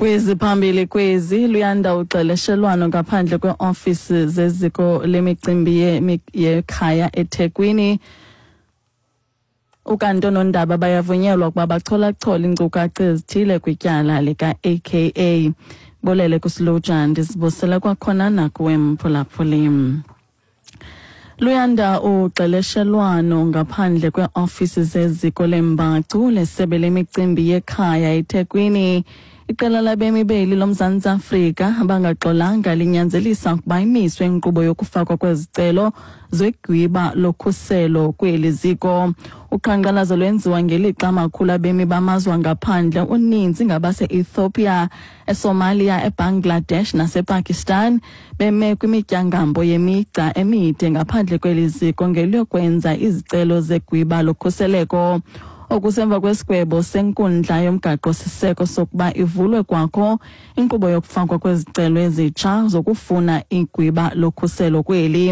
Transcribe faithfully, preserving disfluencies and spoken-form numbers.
Kweziphambili kwezi: luyanda uxeleshelwano ngaphandle kweeofisi zeziko lemicimbi yekhaya eThekwini. Ukanti oonondaba bayavunyelwa ukuba bacholachole iinkcukacha ezithile kwityala lika-A K A. Bolele kusiluja, ndizibusela kwakhona nakuwe mphulaphuli. Luyanda uxeleshelwano ngaphandle kweeofisi zeziko lembacu lesebe lemicimbi yekhaya eThekwini. Iqela labemi beli loMzantsi Afrika abangaxolanga linyanzelisa ukuba imiswe inkqubo yokufakwa kwezicelo zegwiba lokhuselo kweli ziko. Uqhankqalazo lwenziwa ngelixa amakhulu abemi bamazwe angaphandle, uninzi ngabase-Ethiopia, eSomalia, eBangladesh nasePakistan, beme kwimityangambo yemigca emide ngaphandle kweli ziko ngeliyokwenza izicelo zegwiba lokhuseleko. Okusemva kwesigwebo senkundla yomgaqo-siseko sokuba ivulwe kwakho inkqubo yokufakwa kwezicelo ezitsha zokufuna igwiba lokhuselo kweli.